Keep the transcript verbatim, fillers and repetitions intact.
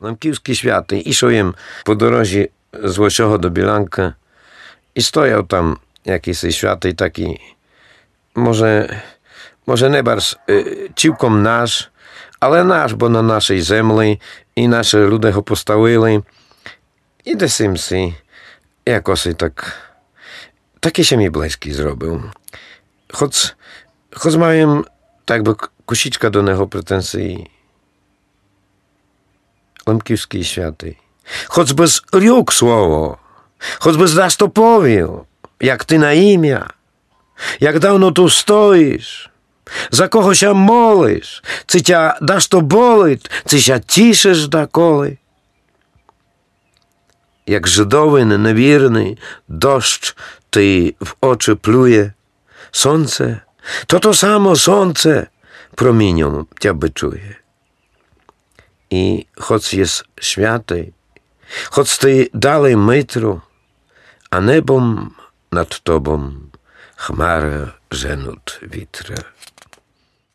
Лемківскій святый. Ішов єм по дорозі з Лосього до Білянкы і стояв там якысий святый такій, може, може не барз, е, цілком наш, але наш, бо на нашій землі і нашы люде го поставили. І десь єм си, якоси так, такій ся мі близькій зробив. Хоц, хоц мав єм так бы к-, кусічка до нього претензії. Лемківскій святый. Хоц бысь рюк слово, хоц бысь дашто повів, як ты на імя, як давно ту стоїш, за кого ся молиш, ци тя дашто болить, ци ся тішиш даколи. Як жидовин невірный дощ ти в очі плює, сонце, то то само сонце проміньом тя бичує. І хоц єс святый, хоц ты далей Митру, а небом над тобом хмары женут вітры.